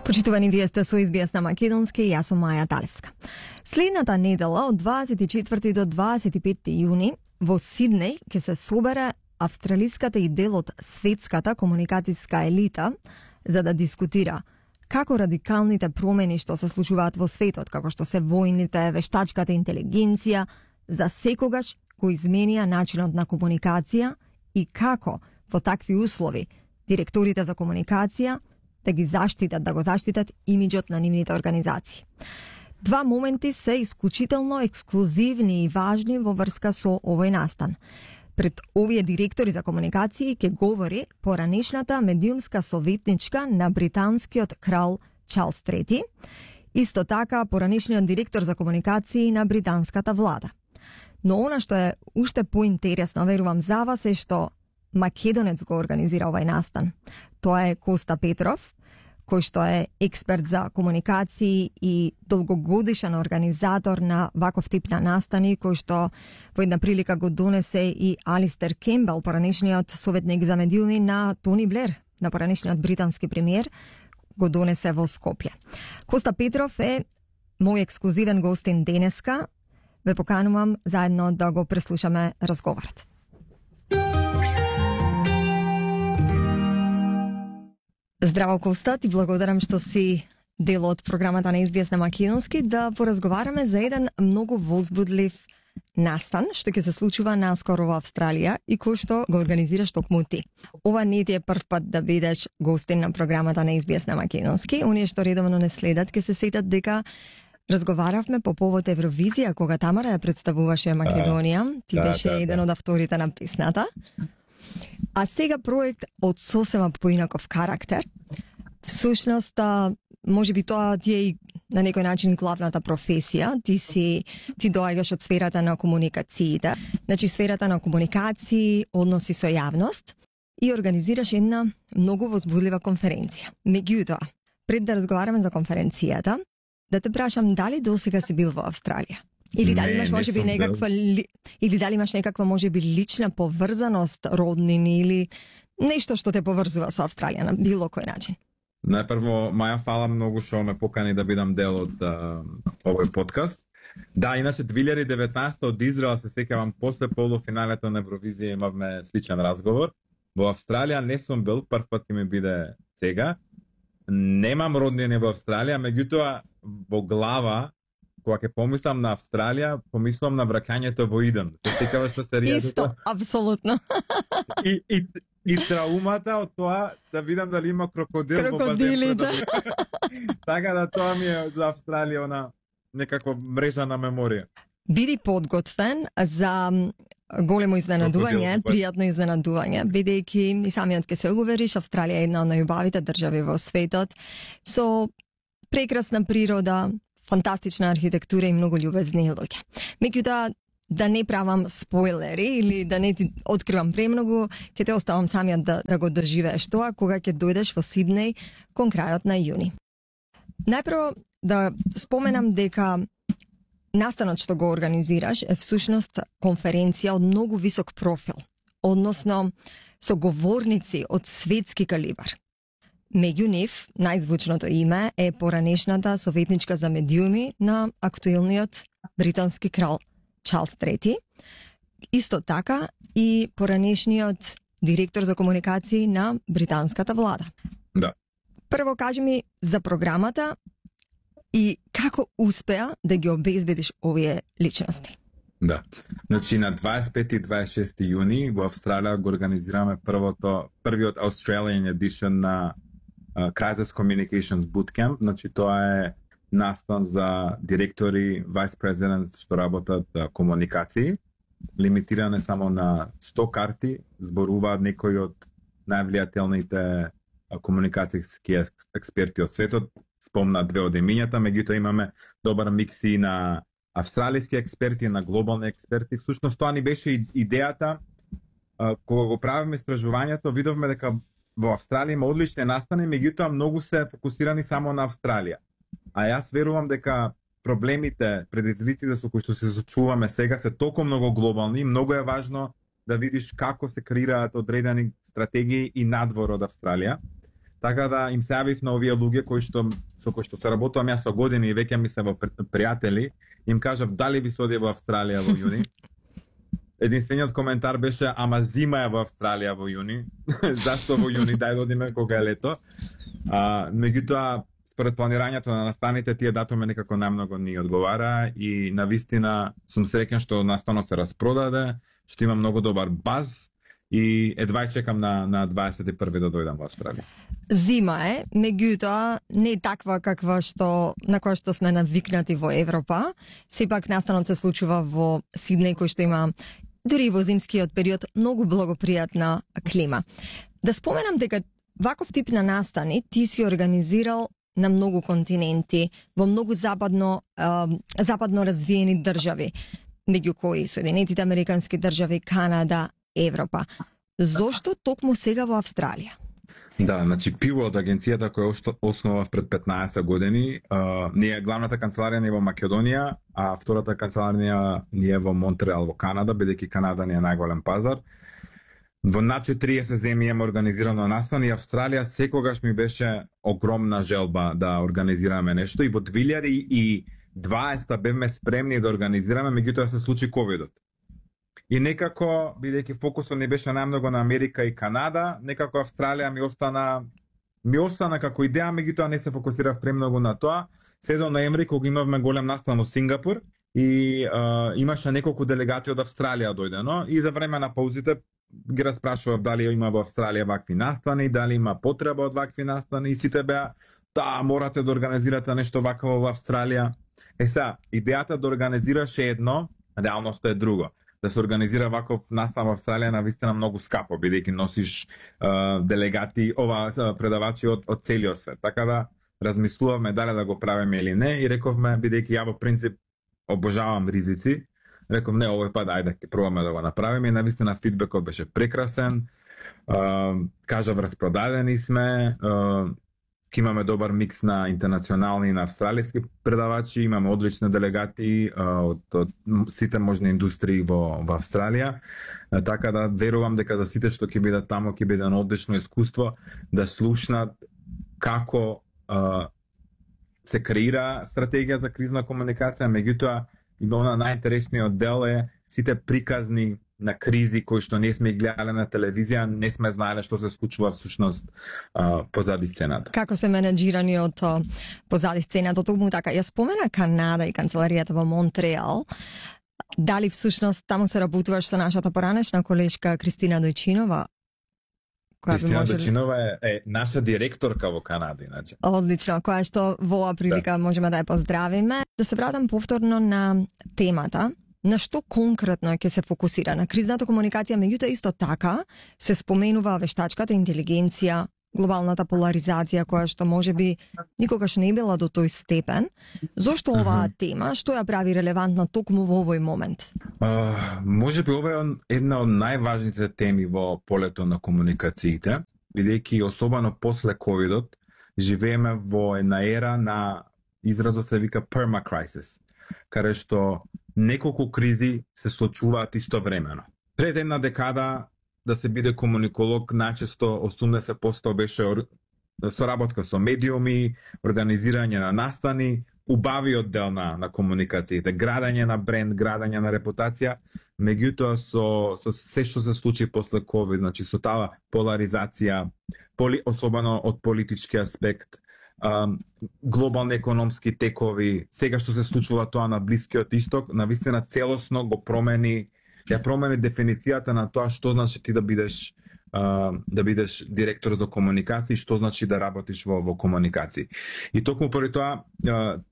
Почитувани, вие сте со SBS на Македонски и јас сум Маја Талевска. Следната недела од 24 до 25 јуни во Сиднеј ќе се собере австралиската и дел од светската комуникацијска елита за да дискутира како радикалните промени што се случуваат во светот, како што се војните, вештачката интелигенција, за секогаш го изменија начинот на комуникација и како во такви услови директорите за комуникација да го заштитат имиџот на нивните организации. Два моменти се исклучително ексклузивни и важни во врска со овој настан. Пред овие директори за комуникации ќе говори поранешната медиумска советничка на британскиот крал Чарлс III, исто така поранешниот директор за комуникации на британската влада. Но она што е уште поинтересно, верувам за вас, е што македонец го организира овај настан. Тоа е Коста Петров, кој што е експерт за комуникации и долгогодишен организатор на ваков тип на настани, кој што во една прилика го донесе и Алистер Кембел, поранешниот советник за медиуми на Тони Блер, на поранешниот британски премиер, го донесе во Скопје. Коста Петров е мој ексклузивен гостин денеска. Ве поканувам заедно да го преслушаме разговорот. Здраво, Коста, ти благодарам што си дел од програмата на SBS на Македонски да поразговараме за еден многу возбудлив настан што ќе се случува наскоро во Австралија и кој што го организираш токму ти. Ова не ти е прв пат да бидеш гостин на програмата на SBS на Македонски. Оние што редовно не следат ќе се сетат дека разговаравме по повод Евровизија кога Тамара ја представуваше Македонија. Ти беше еден од авторите на песната. А сега проект од сосема поинаков карактер. Всушност, можеби тоа ти е и на некој начин главната професија. Ти доаѓаш од сферата на комуникациите, значи сферата на комуникации, односи со јавност и организираш една многу возбудлива конференција. Меѓутоа, пред да разговараме за конференцијата, да те прашам дали досега си бил во Австралија? Или дали имаш можеби некаква можеби лична поврзаност, роднини или нешто што те поврзува со Австралија на било кој начин? Најпрво, Маја, фала многу што ме покани да бидам дел од овој подкаст. Да, иначе 2019 од Израел се сеќавам после полуфиналето на Евровизија имавме сличен разговор. Во Австралија не сум бил, прв пат ќе ми биде сега. Немам роднини во Австралија, меѓутоа во глава кога ќе помислам на Австралија, помислам на враќањето во Иден. Се сеќаваш на серијата? Исто, апсолутно. И траумата од тоа да видам дали има крокодил во базен. Така да тоа ми е за Австралија она некаква мрежа на меморија. Биди подготвен за големо изненадување, пријатно изненадување, бидејќи и самиот ќе се увериш, Австралија е една од најубавите држави во светот, со прекрасна природа, фантастична архитектура и многу љубезни луѓе. Меѓутоа, да не правам спойлери или да не ти откривам премногу, ќе те оставам самиот да го доживееш тоа кога ќе дојдеш во Сиднеј кон крајот на јуни. Најпрво да споменам дека настанот што го организираш е всушност конференција од многу висок профил, односно со говорници од светски калибар. Меѓу нив, најзвучното име е поранешната советничка за медиуми на актуелниот британски крал Чарлс III, исто така и поранешниот директор за комуникации на британската влада. Да. Прво кажи ми за програмата и како успеа да ги обезбедиш овие личности. Да. Значи на 25 и 26 јуни во Австралија го организираме првиот Australian edition на Crisis Communications Bootcamp. Значи тоа е настан за директори, vice presidents што работат комуникации. Лимитиране само на 100 карти, зборуваат некои од највлијателните комуникацијски експерти од светот. Спомна две од имињата, меѓутоа имаме добар микс и на австралиски експерти, на глобални експерти. Всушност тоа ни беше идејата кога го правиме истражувањето, видовме дека во Австралија има одлични настани, меѓутоа многу се фокусирани само на Австралија. А јас верувам дека проблемите, предизвиците со кои што се соочуваме сега се толку многу глобални и многу е важно да видиш како се креираат одредени стратегии и надвор од Австралија. Така да им се јавив на овие луѓе со кои што се работувам јас со години и веќе ми се во пријатели, им кажав дали ви се оди во Австралија во јуни. Единствениот коментар беше ама зима е во Австралија во јуни. Зашто во јуни, дај да одиме кога е лето. Меѓутоа според планирањето на настаните тие датуми некако најмногу ни одговара и навистина сум среќен што настано се распродаде, што има многу добар баз и едва чекам на 21 да дојдам во Австралија. Зима е, меѓутоа не е таква каква на која што сме навикнати во Европа. Сепак настанот се случува во Сиднеј, кој што има дури во зимскиот период многу благопријатна клима. Да споменам дека ваков тип на настани ти си организирал на многу континенти, во многу западно развиени држави, меѓу кои Соединетите Американски држави, Канада, Европа. Зошто токму сега во Австралија? Да, значи Пиво од агенцијата која основав пред 15 години, ние главната канцеларија ни е во Македонија, а втората канцеларија ни е во Монтреал во Канада, бидејќи Канада ни е најголем пазар. Во над 40 земји имаме организирано настани и Австралија секогаш ми беше огромна желба да организираме нешто и во 2020 бевме спремни да организираме, меѓутоа се случи ковидот. И некако, бидејќи фокусот не беше најмногу на Америка и Канада, некако Австралија ми остана како идеја, меѓутоа не се фокусирав премногу на тоа. Се до ноември кога имавме голем настан во Сингапур и имаше неколку делегати од Австралија дојдено и за време на паузите ги распрашував дали има во Австралија вакви настани, дали има потреба од вакви настани и сите беа морате да организирате нешто вакво во Австралија. Сега, идејата да организираш е едно, реалноста е друго. Да се организира ваков настан во Австралија навистина многу скапо, бидејќи носиш делегати, предавачи од целиот свет. Така да размислувавме дали да го правиме или не и рековме, бидејќи ја во принцип обожавам ризици, реков не, овој пат ајде ќе пробаме да го направиме и навистина фидбекот беше прекрасен. Кажав распродадени сме, ќе имаме добар микс на интернационални и на австралиски предавачи, имаме одлични делегати од сите можни индустрии во Австралија, така да верувам дека за сите што ќе бидат таму ќе биде едно одлично искуство да слушнат како се креира стратегија за кризна комуникација, меѓутоа и на најинтересниот дел е сите приказни на кризи кои што не сме гледале на телевизија, не сме знаеле што се случува всушност позади сцената. Како се менеджирани од позади сцената, токму така. Ја спомена Канада и канцеларијата во Монтреал. Дали всушност таму се работуваш со нашата поранешна колешка Кристина Дојчинова? Кристина Дојчинова е наша директорка во Канада, иначе. Одлично, која што во оваа прилика можеме да ја поздравиме. Да се вратам повторно на темата. На што конкретно ќе се фокусира? На кризната комуникација, меѓутоа исто така се споменува вештачката интелигенција, глобалната поларизација која што можеби никогаш не била до тој степен. Зошто оваа тема, што ја прави релевантна токму во овој момент? Можеби ова е една од најважните теми во полето на комуникациите, бидејќи особено после ковидот живееме во една ера на изразот се вика permacrisis, каде што неколку кризи се случуваат истовремено. Пред една декада да се биде комуниколог, најчесто 80% беше соработка со медиуми, организирање на настани, убавиот дел на комуникациите, градење на бренд, градење на репутација, меѓутоа со се што се случи после ковид, значи со таа поларизација, особено од политички аспект, глобални економски текови, сега што се случува тоа на Блискиот Исток, навистина целосно го промени дефиницијата на тоа што значи ти да бидеш директор за комуникација и што значи да работиш во комуникација. И токму поради тоа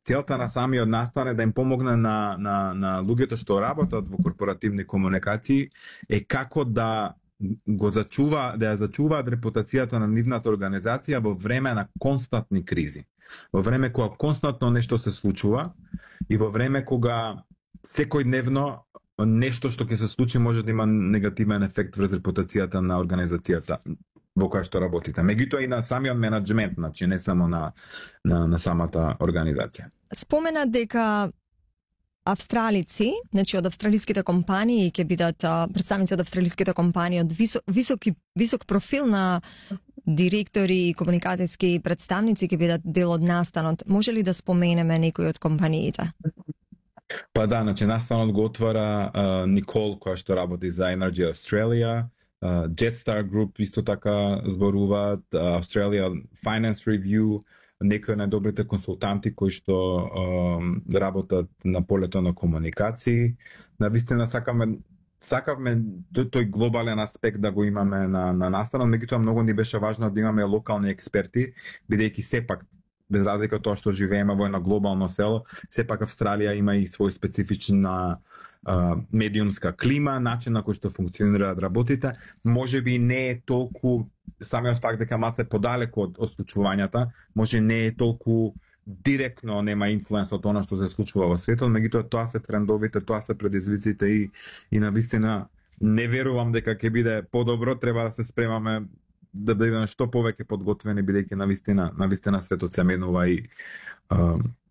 целта на самиот настан е да им помогне на луѓето што работат во корпоративни комуникации е како да ја зачуваат репутацијата на нивната организација во време на константни кризи. Во време кога константно нешто се случува и во време кога секојдневно нешто што ќе се случи може да има негативен ефект врз репутацијата на организацијата во која што работите. Меѓутоа и на самиот менеджмент, значи не само на самата организација. Спомена дека австралици, значи од австралиските компании ќе бидат представници од австралиските компании од висок профил на директори и комуникацијски представници ќе бидат дел од настанот. Може ли да споменеме некои од компаниите? Па да, значи настанот го отвара Никол, која што работи за Energy Australia, Jetstar Group исто така зборуваат, Australia Finance Review, некои најдобрите консултанти кои што работат на полето на комуникации. Навистина сакавме тој глобален аспект да го имаме на настанот, меѓутоа многу ни беше важно да имаме локални експерти, бидејќи сепак без разлика од тоа што живееме во едно глобално село, сепак Австралија има и свој специфична медиумска клима, начин на кој што функционираат работите. Можеби не е толку самиот факт дека малце подалеку од случувањата, може не е толку директно нема инфлуенс од она што се случува во светот, меѓутоа тоа се трендовите, тоа се предизвиците и навистина не верувам дека ќе биде подобро, треба да се спремаме да бидеме што повеќе подготвени, бидејќи навистина светот се менува и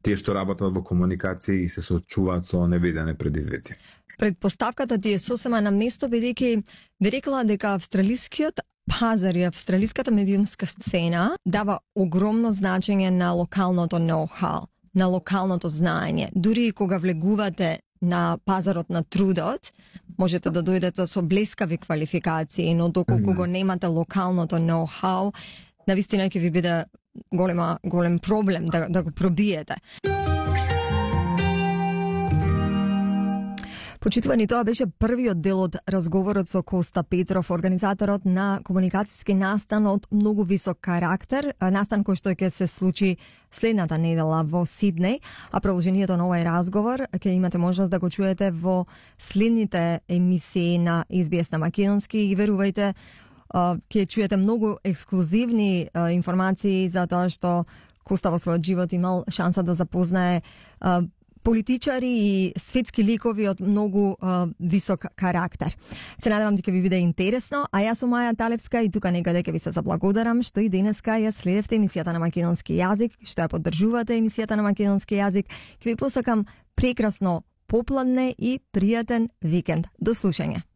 тие што работат во комуникација и се соочуваат со невидени предизвици. Предпоставката ти е сосема на место, бидејќи би рекла дека австралискиот пазар и австралиската медиумска сцена дава огромно значење на локалното ноу-хау, на локалното знаење. Дури и кога влегувате на пазарот на трудот, можете да дојдете со блескави квалификации, но доколку го немате локалното ноу-хау, навистина ќе ви биде голем проблем да го пробиете. Почитувани, тоа беше првиот дел од разговорот со Коста Петров, организаторот на комуникацијски настан од многу висок карактер, настан кој што ќе се случи следната недела во Сиднеј, а продолжението на овој разговор ќе имате можност да го чуете во следните емисии на SBS на македонски и верувајте, ќе чуете многу ексклузивни информации за тоа што Коста во својот живот имал шанса да запознае политичари и светски ликови од многу висок карактер. Се надевам дека ви биде интересно, а јас сум Маја Талевска и тука некаде ќе ви се заблагодарам што и денеска ја следевте емисијата на македонски јазик, што ја поддржувате емисијата на македонски јазик. Ќе ви посакам прекрасно попладне и пријатен викенд. До слушање.